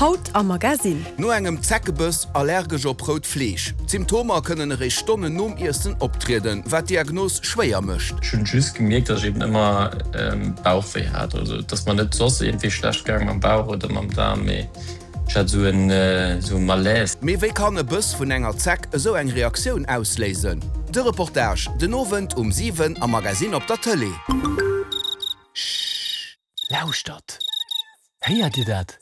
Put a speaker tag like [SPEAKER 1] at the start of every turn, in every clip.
[SPEAKER 1] Haut am Magasinn.
[SPEAKER 2] No engem Zeckebëss allergesch op rout Fleesch. D'Symptomer kënnen eréischt Stonnen nom Iessen optrieden, wat d'Diagnos schwéier mécht.
[SPEAKER 3] Ech hunn just gemierkt, dass ech eben ëmmer Bauchwéi hat, also et ass mer net soss iergendwéi schlecht gaang mam Bauch oder mam Daarm, mee ech hat esou en esou e Malaise.
[SPEAKER 2] Mee wéi kann e Bëss vun enger Zeck esou eng Reaktioun ausléisen? De Reportage den Owend um 7 am Magasinn op der Tëlee.
[SPEAKER 4] Schhh! Lauschtert! Héiert Dir dat?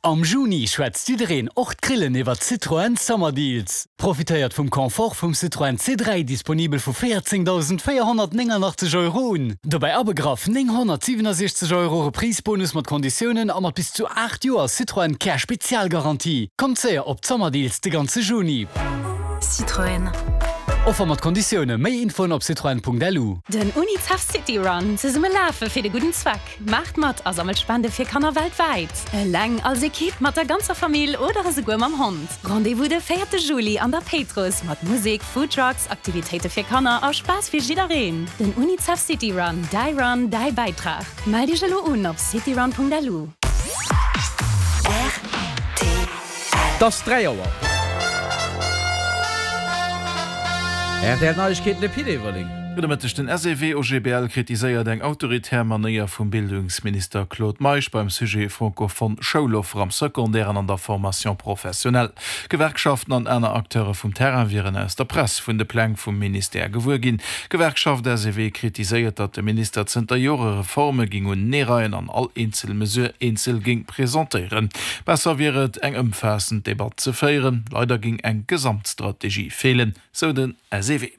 [SPEAKER 4] Am Juni schwätzt jiddereen, och d'Grillen, iwwer Citroën Summer Deals. Profitéiert vum Confort vum Citroën C3, disponibel vu 14.489 Euro un. Dobäi abegraff 967 Euro Reprise-Bonus mat Konditiounen a mat bis zu 8 Joer Citroën Care Spezialgarantie. Kommt séier op d'Summer Deals de ganze Juni.
[SPEAKER 5] Citroën.
[SPEAKER 4] Offer mat Konditioune. Méi Infoen op citroen.lu.
[SPEAKER 5] Den Unicef City Run, zesumme lafe fir de gudden Zweck! Maacht mat a sammelt Spende fir Kanner weltwäit! Eleng, als Ekipp, mat der ganzer Famill oder esouguer mam Hond. Rendez-vous de véierte Juli an der Péitruss mat Musek, Foodtrucks, Aktivitéite fir Kanner a Spaass fir jiddereen. Den Unicef City Run, däi Run, däi Bäitrag. Mellt iech elo un op cityrun.lu.
[SPEAKER 6] Et ass 3 Auer. Rtl Neiegkeeten, de Pit Everling.
[SPEAKER 7] Gudde Mëtteg. Den SEW-OGBL kritiséiert eng autoritär Manéier vum Bildungsminister Claude Meisch beim Sujet francophone Schouloffer am Secondaire an an der Formation professionnelle. Gewerkschaften an aner Acteure vum Terrain wieren aus der Press vun de Pläng vum Ministère gewuer ginn. D'Gewerkschaft SEW kritiséiert, datt de Minister zënter Jore Reforme géing uneereien an all eenzel Mesure eenzel géing presentéieren. Besser wier et, eng ëmfaassend Debatt ze féieren. Leider géing eng Gesamtstrategie feelen, sou den SEW.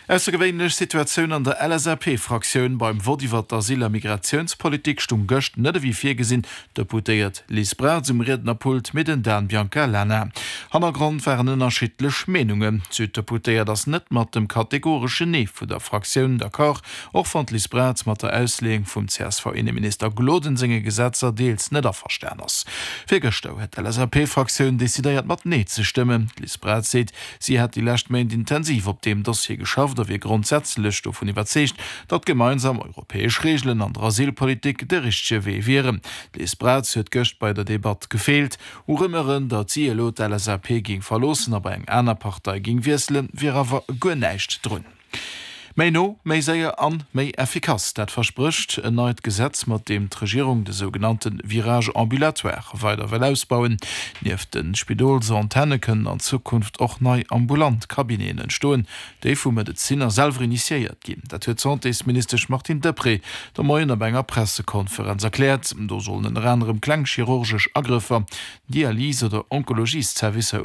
[SPEAKER 7] Aussergewéinlech Situatioun an der LSAP-Fraktioun, Beim Vott iwwer d'Asyl a Migratiounspolitik stung gëscht net ewéi virgesinn d'Deputéiert Liz Braz um Riednerpult, mee den Dan Biancalana. Hannergrond waren ënnerschiddlech Meenungen. D'Süddeputéiert ass net mat dem kategoreschen Nee vu der Fraktioun d'accord. Och wann d'Liz Braz mat der Ausleeung vum CSV-Inneminister Gloden senge Gesetzer deels net averstan ass. Virgëschter huet d'LSAP-Fraktioun decidéiert mat Nee ze stëmmen. D'Liz Braz seet, si hätt déi lescht Méint intensiv op deem Dossier geschafft a wier grondsätzlech dovun iwwerzeegt, datt gemeinsam europäesch Reegelen an der Asylpolitik de richtege Wee wieren. D'Liz Braz huet gëscht bei der Debatt gefeelt. U Rumeuren, datt si elo d'LSAP géing verloossen a bei eng aner Partei géing wiesselen, wier awer guer näischt drun. Méi no, méi séier an méi effikass, dat versprécht en neit Gesetz, mat deem d'Regierung de sougenannte Virage ambulatoire weider wëll ausbauen. Nieft de Spidolsantenne kënnen an Zukunft och nei ambulant Cabineten entstoen, déi vu Medezinner selwer initiéiert ginn. Dat huet d'Santésministesch Martine Deprez de Moien op enger Pressekonferenz erkläert. Do sollen ënner anerem kleng chirurgesch Agrëffer, Dialys oder Onkologiesservicer.